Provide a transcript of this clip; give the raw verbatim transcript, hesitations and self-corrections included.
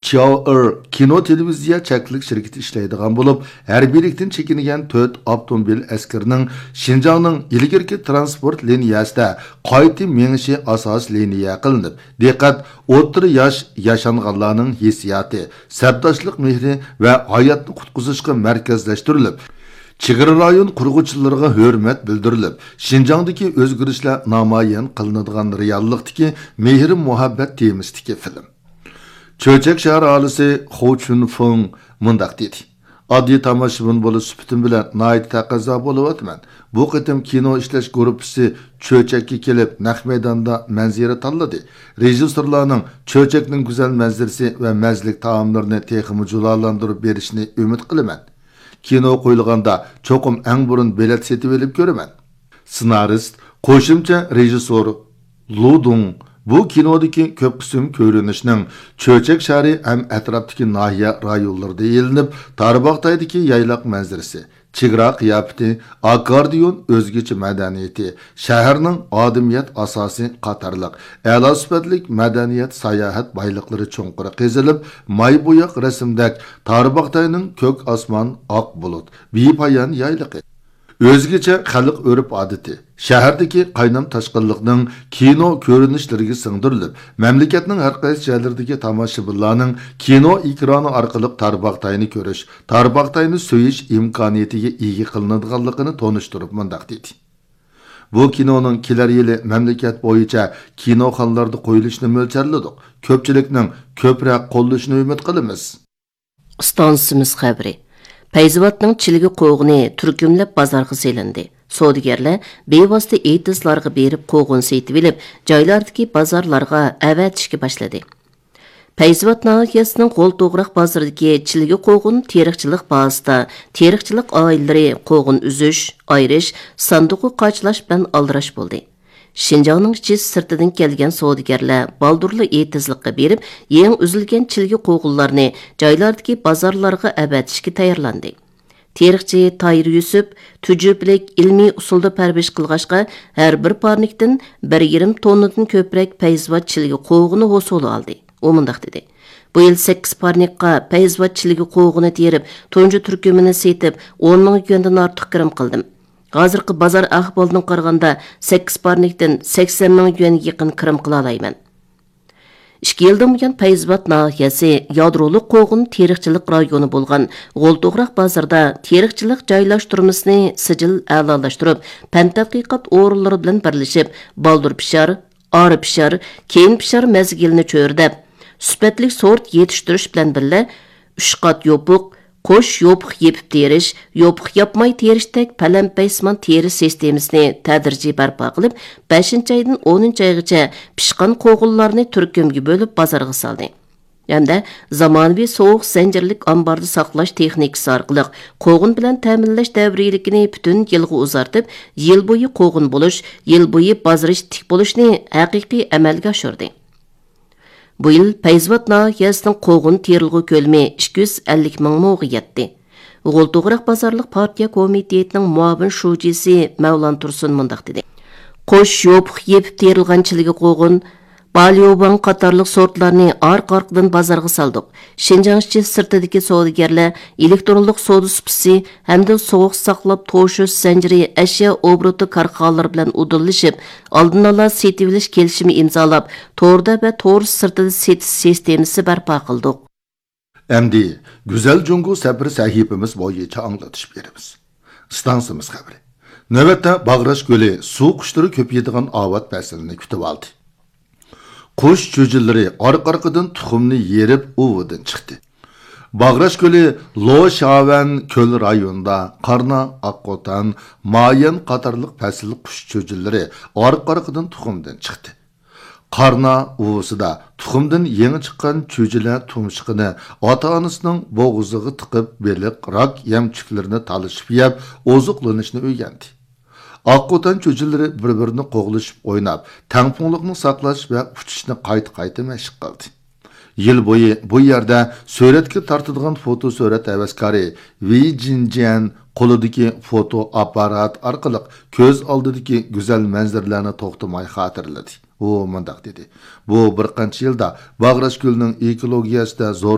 شياۋئېر كىنو تېلېۋىزىيە چەكلىك شىركىتى ئىشلەيدىغان بولۇپ، ھەربىيلىكتىن چېكىنگەن تۆت ئاپتوموبىل ئەسكىرىنىڭ شىنجاڭنىڭ ئىلگىرىكى تىرانسپورت لىنىيەسىدە قايتا مېڭىشى ئاساسىي لىنىيە قىلىنىپ، دىققەت ئوتتۇرا ياش ياشانغانلارنىڭ ھېسسىياتى، سەپداشلىق مېھرى ۋە ھاياتنى قۇتقۇزۇشقا مەركەزلەشتۈرۈلۈپ، چېگرا رايون قۇرغۇچىلىرىغا ھۆرمەت بىلدۈرۈلۈپ، شىنجاڭدىكى ئۆزگىرىشلەر نامايان قىلىنىدىغان رېئاللىقتىكى مېھىر-مۇھەببەت تېمىسىدىكى فىلىم. چۆچەك شەھەر ئاھالىسى خو چۈنفېڭ مۇنداق دېدى: ئاددىي تاماشىبىن بولۇش سۈپىتىم بىلەن ناھايىتى تەقەززا بولۇۋاتىمەن. بۇ قېتىم كىنو ئىشلەش گۇرۇپپىسى چۆچەككە كېلىپ، نەق مەيداندا مەنزىرە تاللىدى. رېژىسسورلارنىڭ چۆچەكنىڭ گۈزەل مەنزىرىسى ۋە مەززىلىك تائاملىرىنى تېخىمۇ جۇلالىندۇرۇپ بېرىشىنى ئۈمىد قىلىمەن. كىنو قويۇلغاندا چوقۇم ئەڭ بۇرۇن بېلەت سېتىۋېلىپ كۆرىمەن. سېنارىست، قوشۇمچە رېژىسسور لۇ دۇڭ بۇ كىنودىكى كۆپ قىسىم كۆرۈنۈشنىڭ چۆچەك شەھىرى ھەم ئەتراپتىكى ناھىيە رايونلىرىدا ئېلىنىپ، تارباغاتايدىكى يايلاق مەنزىرىسى، چېگرا قىياپىتى، ئاككوردىئون ئۆزگىچە مەدەنىيىتى، شەھەرنىڭ ئادىمىيەت ئاساسى قاتارلىق ئەلا سۈپەتلىك مەدەنىيەت ساياھەت بايلىقلىرى چوڭقۇر قېزىلىپ، ماي بوياق رەسىمدەك تارباغاتاينىڭ كۆك ئاسمان، ئاق بۇلۇت، بىپايان يايلىقى، ئۆزگىچە خەلق ئۆرپ-ئادىتى، شەھەردىكى قاينام-تاشقىنلىقنىڭ كىنو كۆرۈنۈشلىرىگە سىڭدۈرۈلۈپ، مەملىكەتنىڭ ھەر قايسى جايلىرىدىكى تاماشىبىنلارنىڭ كىنو ئېكرانى ئارقىلىق تارباغاتاينى كۆرۈش، تارباغاتاينى سۆيۈش ئىمكانىيىتىگە ئىگە قىلىنىدىغانلىقىنى تونۇشتۇرۇپ مۇنداق دېدى: بۇ كىنونىڭ كېلەر يىلى مەملىكەت بويىچە كىنوخانىلاردا قويۇلۇشىنى مۆلچەرلىدۇق. كۆپچىلىكنىڭ كۆپرەك قوللىشىنى ئۈمىد قىلىمىز. ئىستانسىمىز خەۋىرى. پەيزىۋاتنىڭ چىلگە قوغۇنى تۈركۈملەپ بازارغا سېلىندى. سودىگەرلەر بىۋاسىتە ئېتىزلارغا بېرىپ قوغۇن سېتىۋېلىپ، جايلاردىكى بازارلارغا ئەۋەتىشكە باشلىدى. پەيزىۋات ناھىيەسىنىڭ غول توغراق بازىرىدىكى چىلگە قوغۇن تېرىقچىلىق بازىسىدا تېرىقچىلىق ئائىلىلىرى قوغۇن ئۈزۈش، ئايرىش، ساندۇققا قاچىلاش بىلەن ئالدىراش بولدى. شىنجاڭنىڭ ئىچى سىرتىدىن كەلگەن سودىگەرلەر بالدۇرلا ئېتىزلىققا بېرىپ، يېڭى ئۈزۈلگەن چىلگە قوغۇنلارنى جايلاردىكى بازارلارغا ئەۋەتىشكە تەييارلاندى. تېرىقچى تاھىر يۈسۈپ تۈجۈپىلىك ئىلمىي ئۇسۇلدا پەرۋىش قىلغاچقا، ھەر بىر پارنىكتىن بىر يېرىم توننىدىن كۆپرەك پەيزىۋات چىلگە قوغۇنى ھوسۇل ئالدى. ئۇ مۇنداق دېدى: بۇ يىل سەككىز پارنىكقا پەيزىۋات چىلگە قوغۇنى تېرىپ، تۇنجى تۈركۈمىنى سېتىپ، ئون مىڭ يۈەندىن ئارتۇق كىرىم قىلدىم. ھازىرقى بازار ئەھۋالىدىن قارىغاندا، سەككىز پارنىكتىن سەكسەن مىڭ يۈەنگە يېقىن كىرىم قىلالايمەن. ئىككى يىلدىن بۇيان پەيزىۋات ناھىيەسى يادرولۇق قوغۇن تېرىقچىلىق رايونى بولغان غول توغراق بازىرىدا تېرىقچىلىق جايلاشتۇرمىسىنى سىجىل ئەلالاشتۇرۇپ، پەن تەتقىقات ئورۇنلىرى بىلەن بىرلىشىپ، بالدۇر پىشار، ئارا پىشار، كېيىن پىشار مەزگىلىنى چۆرىدەپ، سۈپەتلىك سورت يېتىشتۈرۈش بىلەن بىللە، ئۈچ قات يوپۇق، قوش يوپۇق يېپىپ تېرىش، يوپۇق ياپماي تېرىشتەك پەلەمپەيسىمان تېرىش سىستېمىسىنى تەدرىجىي بەرپا قىلىپ، بەشىنچى ئايدىن ئونىنچى ئايغىچە پىشقان قوغۇنلارنى تۈركۈمگە بۆلۈپ بازارغا سالدى. ھەمدە زامانىۋى سوغۇق زەنجىرلىك ئامباردا ساقلاش تېخنىكىسى ئارقىلىق قوغۇن بىلەن تەمىنلەش دەۋرىيلىكىنى پۈتۈن يىلغا ئۇزارتىپ، يىل بويى قوغۇن بولۇش، يىل بويى بازىرى تىك بولۇشنى ھەقىقىي ئەمەلگە ئاشۇردى. بۇ يىل پەيزىۋات ناھىيەسىنىڭ قوغۇن تېرىلغۇ كۆلىمى ئىككى يۈز ئەللىك مىڭ موغا يەتتى. غول توغراق بازارلىق پارتىيە كومىتېتىنىڭ مۇئاۋىن شۇجىسى مەۋلان تۇرسۇن مۇنداق دېدى: قوش يوپۇق يېپىپ تېرىلغان چىلگە قوغۇن، باليوۋاڭ قاتارلىق سورتلارنى ئارقا-ئارقىدىن بازارغا سالدۇق. شىنجاڭ ئىچى سىرتىدىكى سودىگەرلەر ئېلېكترونلۇق سودا سۇپىسى ھەمدە سوغۇق ساقلاپ توشۇش زەنجىرى ئەشيا ئوبوروتى كارخانىلىرى بىلەن ئۇدۇللىشىپ، ئالدىن ئالا سېتىۋېلىش كېلىشىمى ئىمزالاپ، توردا ۋە تور سىرتىدا سېتىش سىستېمىسى بەرپا قىلدۇق. ئەمدى گۈزەل جۇڭگو سەپىرى سەھىپىمىز بويىچە ئاڭلىتىش بېرىمىز. ئىستانسىمىز خەۋىرى. نۆۋەتتە باغراش كۆلى سۇ قۇشلىرى كۆپىيىدىغان ئاۋات پەسلىنى كۈتۈۋالدى. قۇش چۈجىلىرى ئارقا-ئارقىدىن تۇخۇمنى يېرىپ ئۇۋىدىن چىقتى. باغراش كۆلى لوشاۋەن كۆل رايونىدا قارنا، ئاققوتان، مايەن قاتارلىق پەسىل قۇش چۈجىلىرى ئارقا-ئارقىدىن تۇخۇمدىن چىقتى. قارنا ئۇۋىسىدا تۇخۇمدىن يېڭى چىققان چۈجىلەر تۇمشۇقىنى ئاتا-ئانىسىنىڭ بوغۇزىغا تىقىپ، بېلىق، راك يەمچۈكلىرىنى تالىشىپ يەپ، ئوزۇقلىنىشنى ئۆگەندى. ئاققوتان چۈجىلىرى بىر-بىرىنى قوغلىشىپ ئويناپ، تەڭپۇڭلۇقنى ساقلاش ۋە ئۇچۇشنى قايتا-قايتا مەشىق قىلدى. يىل بويى بۇ يەردە سۈرەتكە تارتىدىغان فوتو سۈرەت ھەۋەسكارى ۋېي جىنجيەن قولىدىكى فوتو ئاپپارات ئارقىلىق كۆز ئالدىدىكى گۈزەل مەنزىرىلەرنى توختىماي خاتىرىلىدى. ئۇ مۇنداق دېدى: بۇ بىر قانچە يىلدا باغراش كۆلىنىڭ ئېكولوگىيەسىدە زور